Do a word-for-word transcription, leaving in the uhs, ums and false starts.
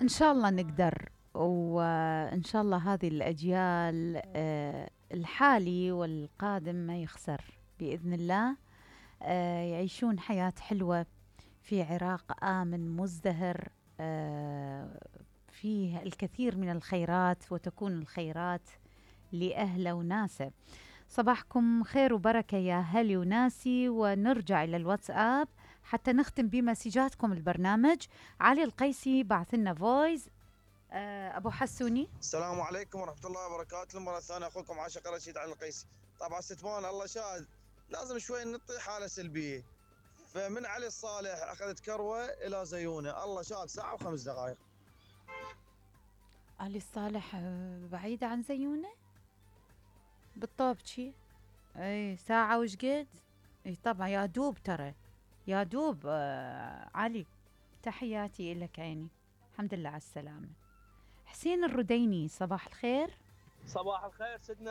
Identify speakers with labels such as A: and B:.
A: إن شاء الله نقدر، وإن شاء الله هذه الأجيال آه، الحالي والقادم ما يخسر بإذن الله. آه، يعيشون حياة حلوة في عراق آمن مزدهر، آه، فيه الكثير من الخيرات، وتكون الخيرات لأهله وناسه. صباحكم خير وبركة يا هلي وناسي. ونرجع إلى الواتساب حتى نختم بمسجاتكم البرنامج. علي القيسي بعث لنا فويس. آه، أبو حسوني.
B: السلام عليكم ورحمة الله وبركاته. مرة ثانية أخوكم عاشق رشيد علي القيسي. طبعا ستمان الله شاهد، لازم شوي نعطي حالة سلبية. فمن علي الصالح أخذت كروة إلى زيونة، الله شاهد ساعة وخمس دقائق.
A: علي الصالح آه، بعيدة عن زيونة بالطوبشي. اي ساعة وش قد. اي طبعا يا دوب ترى، يا دوب. آه علي، تحياتي لك عيني، الحمد لله على السلامة. حسين الرديني صباح الخير.
C: صباح الخير سيدنا